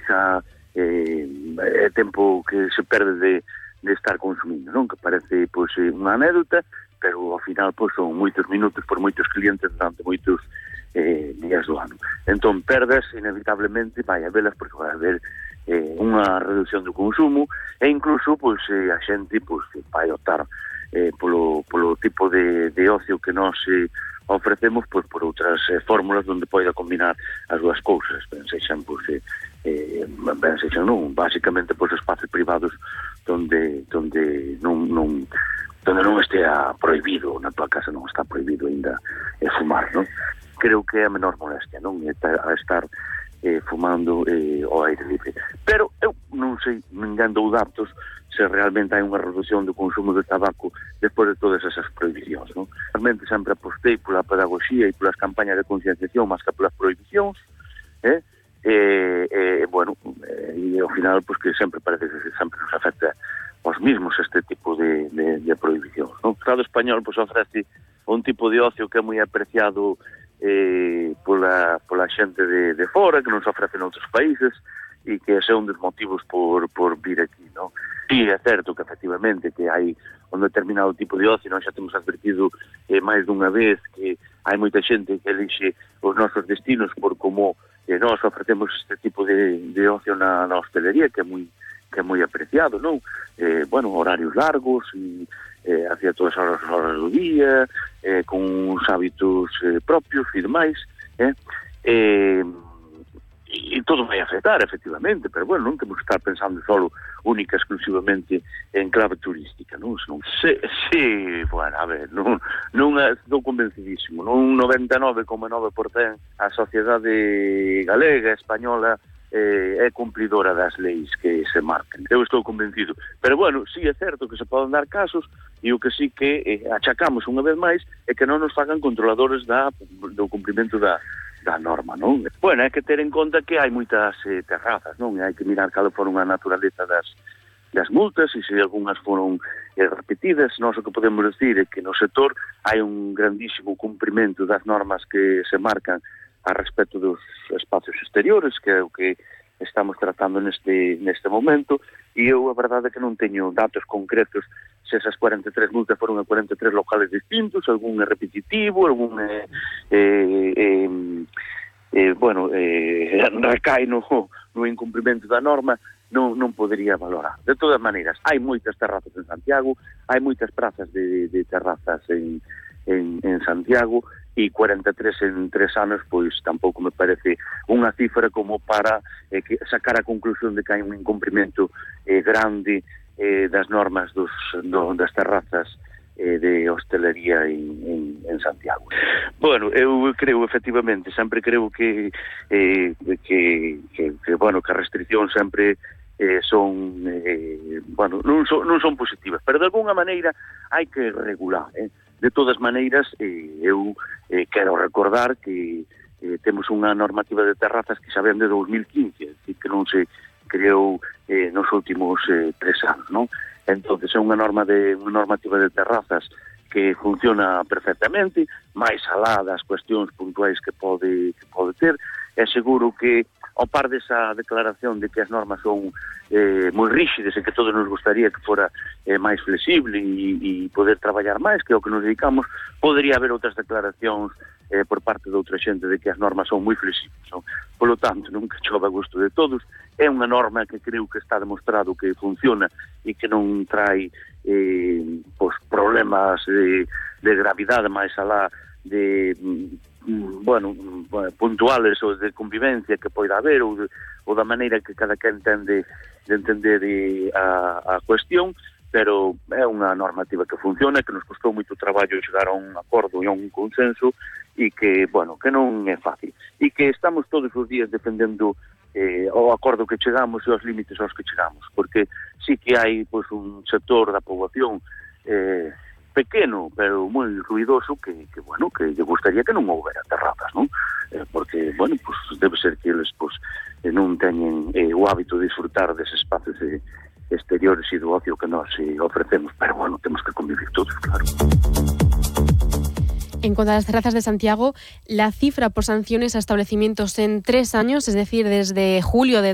xa tempo que se perde de estar consumindo, non? Que parece pois unha anécdota, pero ao final pois son moitos minutos por moitos clientes durante moitos días do ano. Entón, perdas, inevitablemente, vai a velas porque vai haber unha reducción do consumo e incluso, pois, a xente pois, vai optar polo tipo de ocio que nós ofrecemos pois, por outras fórmulas onde poida combinar as dúas cousas. Ben sexan, pois, non, basicamente, pois, espacios privados onde non estea prohibido, na tua casa non está prohibido ainda fumar, non? Creo que é a menor molestia, non? Estar fumando ao aire libre. Pero eu non sei, ninguén dou datos se realmente hai unha reducción do consumo de tabaco despois de todas esas prohibicións, non? Realmente sempre apostei pola pedagogía e polas campañas de concienciación máis que polas prohibicións, bueno, e ao final, pois que sempre parece que sempre nos afecta os mismos este tipo de prohibicións, non? O Estado español, pois, ofrece un tipo de ocio que é moi apreciado pola xente de fora, que non se ofrece en outros países e que é un dos motivos por vir aquí, non? Sí, é certo que efectivamente que hai un determinado tipo de ocio, nós xa temos advertido máis dunha vez que hai moita xente que elixe os nosos destinos por como nós ofrecemos este tipo de ocio na hostelería, que é moi apreciado, non? Bueno, horarios largos e hacia todas as horas do día, con uns hábitos propios e demais, e todo vai afectar, efectivamente, pero bueno, non temos que estar pensando solo única, exclusivamente en clave turística, non? Sí, bueno, a ver, non estou convencidísimo, non 99,9% a sociedade galega, española, é cumpridora das leis que se marquen. Eu estou convencido. Pero, bueno, sí é certo que se poden dar casos e o que sí que achacamos unha vez máis é que non nos fagan controladores do cumprimento da norma, non? Bueno, hai que ter en conta que hai moitas terrazas, non? Hai que mirar cal foron a naturaleza das multas e se algunhas foron repetidas. Nós o que podemos decir é que no sector hai un grandísimo cumprimento das normas que se marcan a respecto dos espacios exteriores, que é o que estamos tratando neste momento, e eu a verdade é que non teño datos concretos se esas 43 multas foron a 43 locales distintos, algún é repetitivo, algún recai no incumprimento da norma, non podería valorar. De todas maneiras, hai moitas terrazas en Santiago, hai moitas prazas de terrazas en Santiago, e 43 en 3 anos, pois tampouco me parece unha cifra como para sacar a conclusión de que hai un incumprimento grande das normas das terrazas de hostelería en Santiago. Bueno, eu creo, efectivamente, sempre creo que as restriccións sempre son, non son positivas, pero de alguna maneira hai que regular, De todas maneiras, eu quero recordar que temos unha normativa de terrazas que xa ven de 2015, é dicir, que non se creou nos últimos 3 anos, non? Entón, é unha normativa de terrazas que funciona perfectamente, máis alá das cuestións puntuais que pode ter. É seguro que, ao par desa declaración de que as normas son moi rígidas e que todos nos gustaría que fora máis flexible e poder traballar máis, que é o que nos dedicamos, podería haber outras declaracións por parte de outra xente de que as normas son moi flexibles. Polo tanto, nunca chove a gusto de todos. É unha norma que creo que está demostrado que funciona e que non trae problemas de gravidade máis alá de puntuales ou de convivencia que poida haber ou da maneira que cada quen entende de entender a cuestión, pero é unha normativa que funciona, que nos costou moito traballo chegar a un acordo e a un consenso e que, que non é fácil e que estamos todos os días defendendo o acordo que chegamos e os límites aos que chegamos, porque sí que hai un sector da poboación pequeno, pero moi ruidoso que lle gustaría que non houbera terrazas, non? Porque, debe ser que eles non teñen o hábito de disfrutar deses espacios exteriores e do ocio que nós ofrecemos, pero temos que convivir todos, claro. En cuanto a las terrazas de Santiago, la cifra por sanciones a establecimientos en 3 años, es decir, desde julio de